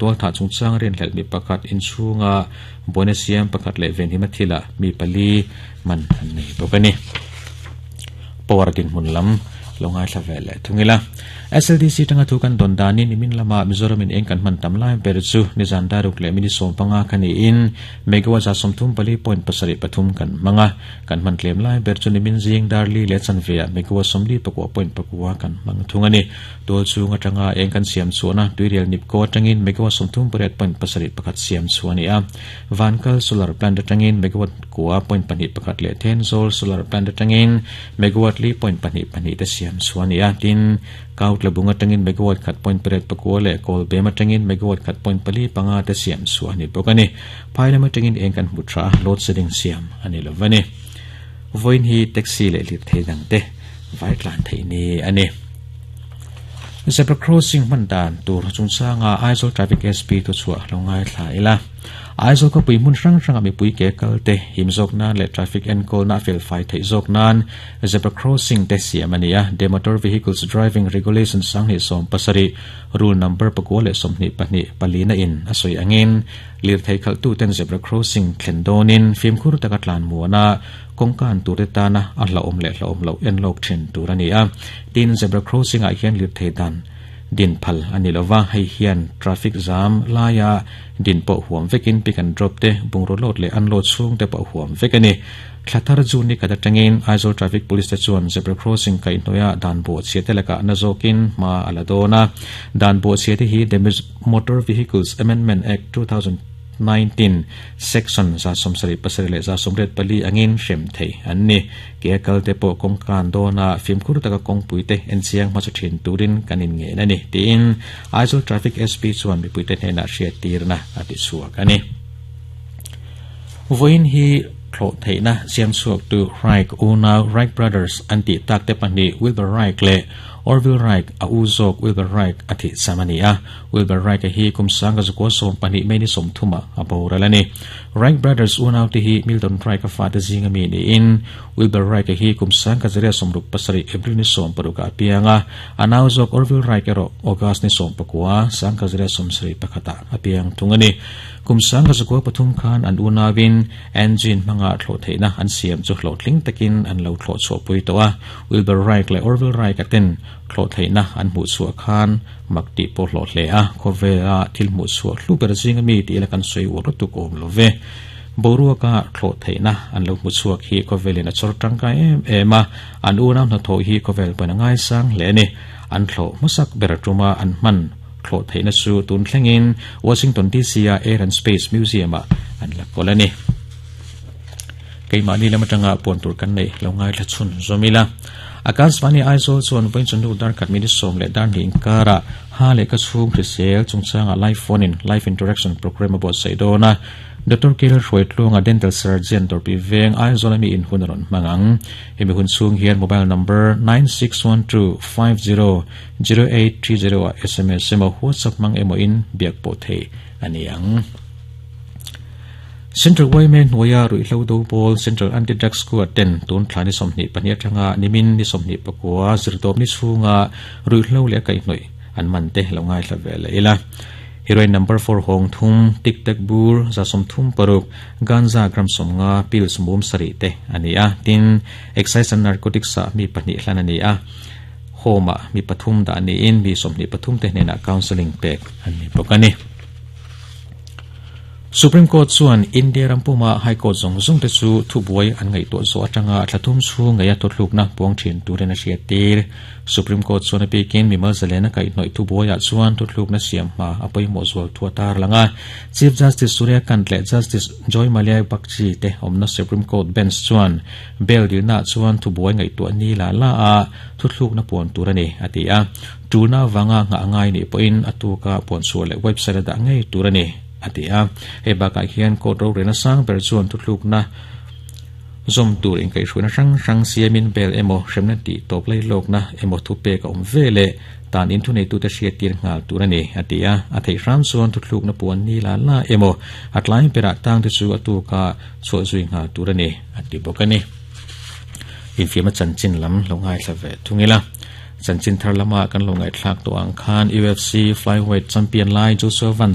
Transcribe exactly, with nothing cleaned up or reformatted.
Tual thah chungchang rinhlelh mi pakhat inchhunga buaina siam pakhat leh venhim a thila mi pali man an nei bawk a ni. Power dinhmun lam lo ngaithla ve leh thung ila. S L D C tanga thu kan don danin nimin lama Mizoram in eng kan hman tam lai ber chu nizan daruk leh mini sawm panga khani in megawatt za sawmthum pali point pasarih pathum kan hmanga. Kan hman tlem lai ber chu nimin zing darli leh chanve ah megawatt sawmli pakua point pakua kan hmang thung ani. Tual chung atanga eng kan siam chuana tuirial nipko atangin megawatt sawmthum pariat point pasarih pakhat siam chu ani a. Vankal solar plant atangin megawatt kua point pahnih pakhat leh Thenzawl solar plant atangin megawatt li point pahnih pahnih te siam chu ani a. Tin, kaut labung atangin megawatt khat point pariat pakua leh Kawlbem atangin megawatt khat point pali panga te siam chu ani bawk ani. Phailam atangin eng kan hmu tha, load shedding siam ani lovani. Voin hi taxi leh lirthei dang te vai tlan thei ni ani. Zebra crossing hman dan tur chungchanga Aizawl Traffic S P thu chhuah lo ngaithla ila. Aizawl khawpui hmun hrang hranga mipui ke kal te him zawk nan leh traffic enkawl na fel fai theih zawk nan zebra crossing te siam ani a. The Motor Vehicles Driving Regulation sanghnih sawm pasarih rule number pakua leh sawmhnih pahnih palina in a sawi angin lirthei khalh tu ten zebra crossing thlen dawnin fimkhur taka tlan muana kawngkan tur te tana a hlauhawm leh hlauhawm loh en lawk thin tur ani a. Tin, zebra crossing ah hian lirthei dan din phal ani lova. Hei hian traffic jam laia din pawh huam vekin, pick and drop te, bungraw load leh unload chhung te pawh huam vek ani. Thlathar June ni khat atangin Aizawl Traffic Police te chuan zebra crossing kaihhnawih ah dan bawhchhia te lakah na zawkin hma a la dawn a. Dan bawhchhia te hi The Motor Vehicles Amendment Act two thousand nineteen section za sawmsarih pasarih leh za sawmriat pali angin hrem thei an ni. Ke kal te pawh kawngkan dawna fimkhur taka kawngpui te en chiang hmasa thin turin kan in ngen ani, tiin Aizawl Traffic S P chuan mipui te hnenah hriat tirna a ti chhuak ani. Voin hi thlawh theihna siam chhuak tu Wright unau, Wright Brothers an tih tak te pahnih, Wilbur Wright leh Orville Wright a u zawk Wilbur Wright a thih cham ani a. Wilbur Wright a hi kum sanga zakua sawm pahnih May ni sawmthuma a boral ani. Wright Brothers unau te hi Milton Wright a fa te zinga mi niin Wilbur Wright a hi kum sanga zaria sawmruk pasarih April ni sawm paruk a pianga. A nau zawk Orville Wright erawh August ni sawm pakua sanga zaria sawmsarih pakhata a piang thung ani. Kum sanga zakua pathum khan an unawin engine hmanga thlawh theihna an siam chu hlawhtling takin an lo thlawh chhuah pui tawh a. Wilbur Wright leh Orville Wright a ten thlawh theihna an hmuh chhuah khan mak tih pawh hlawh hle a. Khawvela thil hmuh chhuah hlu ber zinga mi tih ila kan sawi uar lutuk awm lo ve. Boruaka thlawh theihna an lo hmu chhuak hi khawvelin a chawr tangkai em em a. An unau hnathawh hi khawvel pawn a ngai sang hle ani. An thlawh hmasak ber tuma an hman thlawh theihna chu tun thlengin Washington D C a Air and Space Museum ah an la kawl ani. Keimahni lam atanga puan tur kan nei lo ngaithla chhun zawmila. Akashvani Aizawl chuan vawiin chawhnu dar khat minute sawm leh dar hnih inkara ha leh ka chhung hrisel chungchanga live phone in live interaction program a buatsaih dawn a. Doctor Kel Hruaitluanga, dental surgeon, Dawrpui Veng, Aizawl ami in hun a rawn hmang ang. Hemi hun chhung hian mobile number nine six one two five zero zero eight three zero a S M S emaw WhatsApp hmang emaw in biak pawh thei ani ang. Central Y M A hnuaia ruihhlo do pawl Central Anti-Drug Squad ten tun thla ni sawmhnih pahnih atanga nimin ni sawmhnih pakua zirtawp ni chhunga ruihhlo leh kaihhnawih an man te lo ngaithla ve leh ila. Heroin number four hawng thum, tic tac bur za sawmthum paruk, ganja gram sawmnga, pills mum sarih te ani a. Tin, excise and narcotics ah mi pahnih hlan ani a. Home ah mi pathum dah niin mi sawmhnih pathum te hnenah counselling pek an ni bawk ani. Supreme Court chuan India rampuma High Court zawng zawng te chu thubuai an ngaihtuah zawh atanga thlathum chhung ngeia thuthlukna puang thin turin a hriat tir. Supreme Court chuan a bikin mimal zalena kaihhnawih thubuaiah chuan thuthlukna siam hma a pawimawh zual thu a tar langa. Chief Justice Surya Kant leh Justice Joymalya Bagchi te awmna Supreme Court bench chuan bail dilna chuan thubuai ngaihtuah ni la la a thuthlukna puan tur ani a ti a. Tuna wanga nga ngai ni pawhin atuka puan chhuah leh website a dah ngei tur ani a ti a. Hei bakah hian court rorelna sang ber chuan thuthlukna zawm tur inkaihhruaina hrang hrang siamin bail emaw hremna tih tawp lai lawkna emaw thu pek a awm ve leh tan in thu nei tute hriat tir nghal tur ani a ti a. A theih hram chuan thuthlukna puan ni la la emaw a tlai berah tang te chu atuka chhuah zui nghal tur ani a ti bawk ani. Infiamna chanchin lam lo ngaithla ve thungila. Chanchin thar lama kan lo ngaihthlak tawh ang khan U F C flyweight champion lai Joshua Van